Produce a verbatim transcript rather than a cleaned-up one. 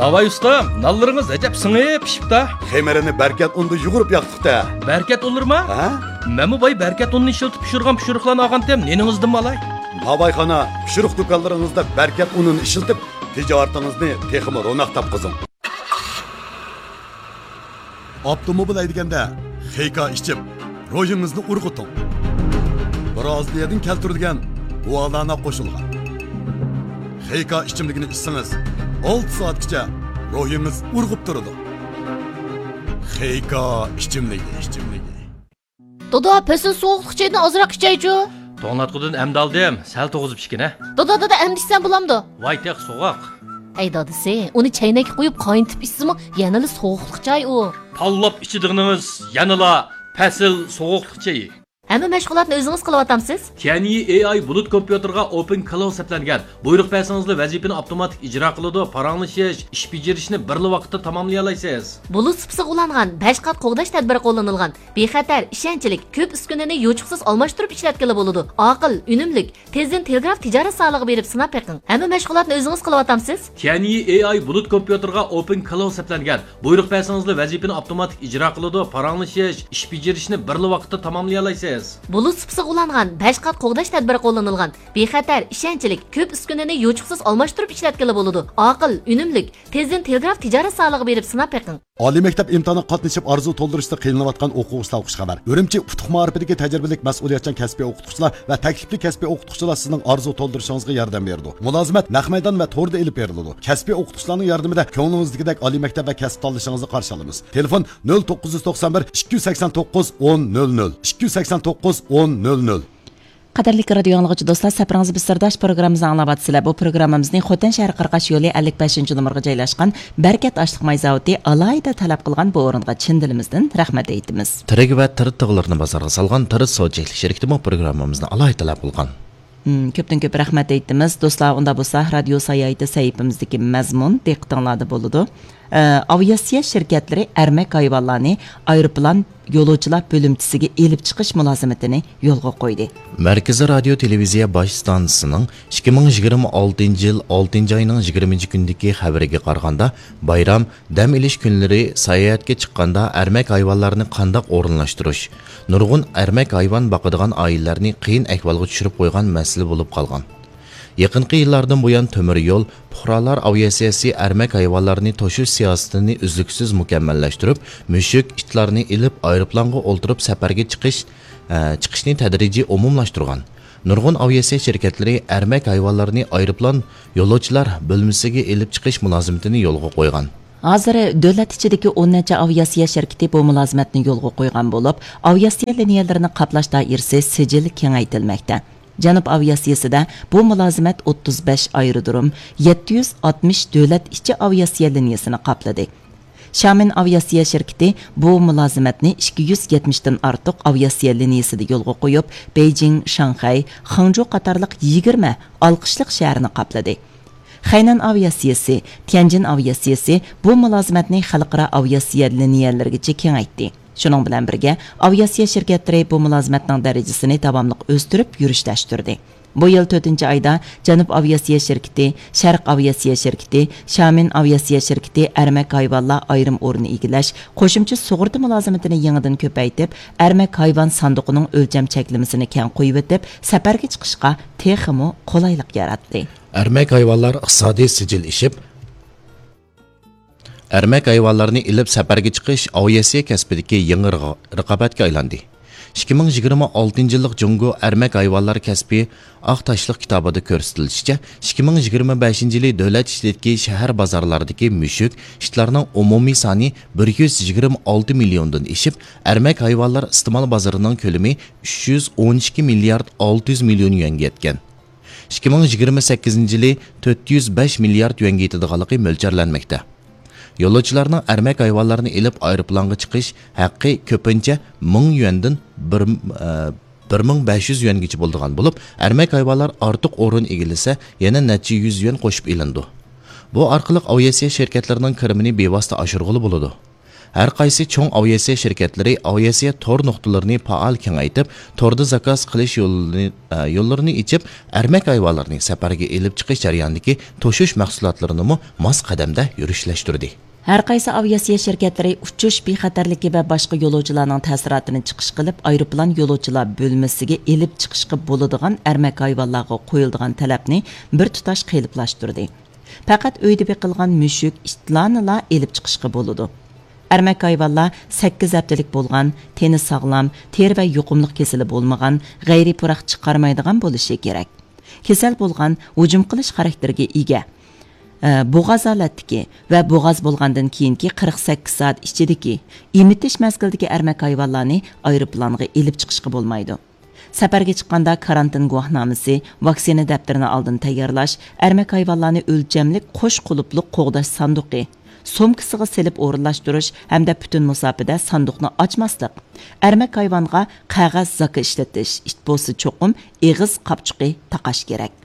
ئاۋاي ئۇستام، نانلىرىڭىز ئەجەب سىڭىپ پىشىپتا. خېمىرىنى بەركەت ئۇندا يۇغۇرۇپ ياقتۇق-تە. بەركەت ئۇنلىرىما؟ ھە؟ مەنمۇ باي بەركەت ئۇنىنى ئىشلىتىپ پىشۇرغان پىشۇرۇقلارنى ئالغانتىم، نېنىڭىزدىنمۇ ئالاي؟ ناۋايخانا، پىشۇرۇق دۇكانلىرىڭىزدا بەركەت ئۇنىنى ئىشلىتىپ، تىجارىتىڭىزنى تېخىمۇ روناق تاپقۇزۇڭ. ئاپتوموبىل ھەيدىگەندە خېيكا ئىچىپ، روھىڭىزنى ئۇرغۇتۇڭ. برازىلىيەدىن كەلتۈرۈلگەن گۇالانا قوشۇلغان خېيكا ئىچىملىكىنى ئىچسىڭىز، ئالتە سائەتكىچە روھىڭىز ئۇرغۇپ تۇرىدۇ. خېيكا ئىچىملىكى، ئىچىملىكى. دادا، پەسىل سوغۇقلۇق چېيىدىن ئازراق ئىچەيچۇ. توڭلاتقۇدىن ئەمدى ئالدىم، سەل توغۇزۇپ ئىچكىنە. دادا، دادا، ئەمدى ئىچسەم بولامدۇ؟ ۋاي تېخى سوغۇق. ھەي دادىسى، ئۇنى چەينەككە قۇيۇپ قاينىتىپ ئىچسىمۇ يەنىلا سوغۇقلۇق چاي ئۇ. تاللاپ ئىچىدىغىنىڭىز يەنىلا پەسىل سوغۇقلۇق چېيى. ھەممە مەشغۇلاتنى ئۆزىڭىز قىلىۋاتامسىز؟ تيەنيى ئېي ئاي بۇلۇت كومپيۇتېرغا ئوپېن كلاود سەپلەنگەن. بۇيرۇق بەرسىڭىزلا ۋەزىپىنى ئاپتوماتىك ئىجرا قىلىدۇ، پاراڭلىشىش، ئىش بېجىرىشنى بىرلا ۋاقىتتا تاماملىيالايسىز. بۇلۇت سۇپىسىغا ئۇلانغان، بەش قات قوغداش تەدبىرى قوللىنىلغان. بىخەتەر، ئىشەنچلىك، كۆپ ئۈسكۈنىنى يوچۇقسىز ئالماشتۇرۇپ ئىشلەتكىلى بولىدۇ. ئاقىل، ئۈنۈملۈك، تېزدىن تېلېگراف تىجارەت زالىغا بېرىپ سىناپ بېقىڭ. ھەممە مەشغۇلاتنى ئۆزىڭىز قىلىۋاتامسىز؟ تيەنيى ئېي ئاي بۇلۇت كومپيۇتېرغا ئوپېن كلاود سەپلەنگەن. بۇيرۇق بەرسىڭىزلا ۋەزىپىنى ئاپتوماتىك ئىجرا قىلىدۇ، پاراڭلىشىش، ئىش بېجىرىشنى بىرلا ۋاقىتتا تاماملىيالايسىز. بۇلۇت سۇپىسىغا ئۇلانغان، بەش قات قوغداش تەدبىرى قوللىنىلغان. بىخەتەر، ئىشەنچلىك، كۆپ ئۈسكۈنىنى يوچۇقسىز ئالماشتۇرۇپ ئىشلەتكىلى بولىدۇ. ئاقىل، ئۈنۈملۈك، تېزدىن تېلېگراف تىجارەت زالىغا بېرىپ سىناپ بېقىڭ. ئالىي مەكتەپ ئىمتىھانىغا قاتنىشىپ ئارزۇ تولدۇرۇشتا قىينىلىۋاتقان ئوقۇغۇچىلارغا خۇش خەۋەر. ئۈرۈمچى ئۇتۇق مائارىپىدىكى تەجرىبىلىك مەسئۇلىيەتچان كەسپىي ئوقۇتقۇچىلار ۋە تەكلىپلىك كەسپىي ئوقۇتقۇچىلار سىزنىڭ ئارزۇ تولدۇرۇشىڭىزغا ياردەم بېرىدۇ. مۇلازىمەت نەق مەيدان ۋە توردا ئېلىپ بېرىلىدۇ. كەسپىي ئوقۇتقۇچىلارنىڭ ياردىمىدە كۆڭلىڭىزدىكىدەك ئالىي مەكتەپ ۋە كەسىپ تاللىشىڭىزنى قارشى ئالىمىز. تېلېفون: نۆل توققۇز يۈز توقسان بىر، ئىككى يۈز سەكسەن توققۇز، ئون نۆل نۆل، ئىككى يۈز سەكسەن توققۇز، ئون نۆل نۆل. قەدىرلىك رادىيو ئاڭلىغۇچى دوستلار، سەپىرىڭىز بىز سىرداش پروگراممىمىزنى ئاڭلاۋاتىسىلەر. بۇ پروگراممىمىزنى خوتەن شەھىرى قىرغاچ يولى ئەللىك بەشىنچى نومۇرغا جايلاشقان بەرىكەت ئاشلىق ماي زاۋۇتى ئالاھىدە تەلەپ قىلغان، بۇ ئورۇنغا چىن دىلىمىزدىن رەھمەت ئېيتىمىز. تىرىك ۋە تىر تىغلىرىنى بازارغا سالغان تىر سودا چەكلىك شىركىتىمۇ پروگراممىمىزنى ئالاھىدە تەلەپ قىلغان. مم، كۆپتىن كۆپ رەھمەت ئېيتىمىز. دوستلار، ئۇنداق بولسا، رادىيو ساياھىتى سەھىپىمىزدىكى مەزمۇن دىققىتىڭلاردا بولىدۇ. ئە، ئاۋىئاتسىيە شىركەتلىرى ئەرمەك ھايۋانلارنى ئايروپىلان يولۇچىلار بۆلۈمچىسىگە ئېلىپ چىقىش مۇلازىمىتىنى يولغا قويدى. مەركىزىي رادىيو تېلېۋىزىيە باش ئىستانسىسىنىڭ ئىككى مىڭ يىگىرمە ئالتىنچى يىل ئالتىنچى ئاينىڭ يىگىرمىنچى كۈنىدىكى خەۋىرىگە قارىغاندا، بايرام، دەم ئېلىش كۈنلىرى ساياھەتكە چىققاندا ئەرمەك ھايۋانلارنى قانداق ئورۇنلاشتۇرۇش، نۇرغۇن ئەرمەك ھايۋان باقىدىغان ئائىلىلەرنى قىيىن ئەھۋالغا چۈشۈرۈپ قويغان مەسىلە بولۇپ قالغان. يېقىنقى يىللاردىن بۇيان تۆمۈر يول، پۇقرالار ئاۋىئاتسىيەسى ئەرمەك ھايۋانلارنى توشۇش سىياسىتىنى ئۈزلۈكسىز مۇكەممەللەشتۈرۈپ، مۈشۈك، ئىتلارنى ئېلىپ ئايروپىلانغا ئولتۇرۇپ سەپەرگە چىقىش، ئە، چىقىشنى تەدرىجىي ئومۇملاشتۇرغان. نۇرغۇن ئاۋىئاتسىيە شىركەتلىرى ئەرمەك ھايۋانلارنى ئايروپىلان يولۇچىلار بۆلمىسىگە ئېلىپ چىقىش مۇلازىمىتىنى يولغا قويغان. ھازىر دۆلەت ئىچىدىكى ئون نەچچە ئاۋىئاتسىيە شىركىتى بۇ مۇلازىمەتنى يولغا قويغان بولۇپ، ئاۋىئاتسىيە لىنىيەلىرىنى قاپلاش دائىرىسى سىجىل كېڭەيتىلمەكتە. جەنۇب ئاۋىئاتسىيىسىدە بۇ مۇلازىمەت ئوتتۇز بەش ئايرودروم، يەتتە يۈز ئاتمىش دۆلەت ئىچى ئاۋىئاتسىيە لىنىيەسىنى قاپلىدى. شامىن ئاۋىئاتسىيە شىركىتى بۇ مۇلازىمەتنى ئىككى يۈز يەتمىشتىن ئارتۇق ئاۋىئاتسىيە لىنىيەسىدە يولغا قويۇپ، بېيجىڭ، شاڭخەي، خېڭجۇ قاتارلىق يىگىرمە ئالقىشلىق شەھەرنى قاپلىدى. خەينەن ئاۋىئاتسىيىسى، تيەنجىن ئاۋىئاتسىيىسى بۇ مۇلازىمەتنى خەلقئارا ئاۋىئاتسىيە لىنىيەلىرىگىچە كېڭەيتتى. شۇنىڭ بىلەن بىرگە، ئاۋىئاتسىيە شىركەتلىرى بۇ مۇلازىمەتنىڭ دەرىجىسىنى داۋاملىق ئۆستۈرۈپ يۈرۈشلەشتۈردى. بۇ يىل تۆتىنچى ئايدا جەنۇب ئاۋىئاتسىيە شىركىتى، شەرق ئاۋىئاتسىيە شىركىتى، شامىن ئاۋىئاتسىيە شىركىتى ئەرمەك ھايۋانلار ئايرىم ئورنى ئىگىلەش، قوشۇمچە سۇغۇرتا مۇلازىمىتىنى يېڭىدىن كۆپەيتىپ، ئەرمەك ھايۋان ساندۇقىنىڭ ئۆلچەم چەكلىمىسىنى كەڭ قويۇۋېتىپ، سەپەرگە چىقىشقا تېخىمۇ قولايلىق ياراتتى. ئەرمەك ھايۋانلار ئىقتىسادىي سىجىل ئېشىپ، ئەرمەك ھايۋانلارنى ئېلىپ سەپەرگە چىقىش ئاۋىئاتسىيە كەسپىدىكى يېڭى رىغا-، رىقابەتكە ئايلاندى. ئىككى مىڭ يىگىرمە ئالتىنچى يىللىق جۇڭگو ئەرمەك ھايۋانلار كەسپى ئاق تاشلىق كىتابىدا كۆرسىتىلىشىچە، ئىككى مىڭ يىگىرمە بەشىنچى يىلى دۆلەت ئىچىدىكى شەھەر بازارلاردىكى مۈشۈك، ئىتلارنىڭ ئومۇمىي سانى بىر يۈز يىگىرمە ئالتە مىليوندىن ئېشىپ، ئەرمەك ھايۋانلار ئىستېمال بازىرىنىڭ كۆلىمى ئۈچ يۈز ئون ئىككى مىليارد ئالتە يۈز مىليون يۈەنگە يەتكەن. ئىككى مىڭ يىگىرمە سەككىزىنچى يىلى تۆت يۈز بەش مىليارد يۈەنگە يېتىدىغانلىقى مۆلچەرلەنمەكتە. يولۇچىلارنىڭ ئەرمەك ھايۋانلارنى ئېلىپ ئايروپىلانغا چىقىش ھەققى كۆپىنچە مىڭ يۈەندىن بىر، ئە، بىر مىڭ بەش يۈز يۈەنگىچە بولىدىغان بولۇپ، ئەرمەك ھايۋانلار ئارتۇق ئورۇن ئىگىلىسە، يەنە نەچچە يۈز يۈەن قوشۇپ ئېلىنىدۇ. بۇ ئارقىلىق ئاۋىئاتسىيە شىركەتلىرىنىڭ كىرىمىنى بىۋاسىتە ئاشۇرغىلى بولىدۇ. ھەر قايسى چوڭ ئاۋىئاتسىيە شىركەتلىرى ئاۋىئاتسىيە تور نۇقتىلىرىنى پائال كېڭەيتىپ، توردا زاكاز قىلىش يولىنى، ئە، يوللىرىنى ئېچىپ، ئەرمەك ھايۋانلارنى سەپەرگە ئېلىپ چىقىش جەريانىدىكى توشۇش مەھسۇلاتلىرىنىمۇ ماس قەدەمدە يۈرۈشلەشتۈردى. ھەر قايسى ئاۋىئاتسىيە شىركەتلىرى ئۇچۇش بىخەتەرلىكى ۋە باشقا يولۇچىلارنىڭ تەسىراتىنى چىقىش قىلىپ، ئايروپىلان يولۇچىلار بۆلمىسىگە ئېلىپ چىقىشقا بولىدىغان ئەرمەك ھايۋانلارغا قويۇلىدىغان تەلەپنى بىر تۇتاش قېلىپلاشتۇردى. پەقەت ئۆيدە بېقىلغان مۈشۈك، ئىتلارنىلا ئېلىپ چىقىشقا بولىدۇ. ئەرمەك ھايۋانلار سەككىز ھەپتىلىك بولغان، تېنى ساغلام، تېرە ۋە يۇقۇملۇق كېسىلى بولمىغان، غەيرىي پۇراق چىقارمايدىغان بولۇشى كېرەك. كېسەل بولغان، ھۇجۇم قىلىش خاراكتېرىگە ئىگە، ئە، بوغاز ھالەتتىكى ۋە بوغاز بولغاندىن كېيىنكى قىرىق سەككىز سائەت ئىچىدىكى ئېمىتىش مەزگىلىدىكى ئەرمەك ھايۋانلارنى ئايروپىلانغا ئېلىپ چىقىشقا بولمايدۇ. سەپەرگە چىققاندا كارانتىن گۇۋاھنامىسى، ۋاكسىنا دەپتىرىنى ئالدىن تەييارلاش، ئەرمەك ھايۋانلارنى ئۆلچەملىك قوش قۇلۇپلۇق قوغداش ساندۇقى، سومكىسىغا سېلىپ ئورۇنلاشتۇرۇش ھەمدە پۈتۈن مۇساپىدە ساندۇقنى ئاچماسلىق، ئەرمەك ھايۋانغا قەغەز زاكا ئىشلىتىش، ئىت بولسا چوقۇم ئېغىز قاپچۇقى تاقاش كېرەك.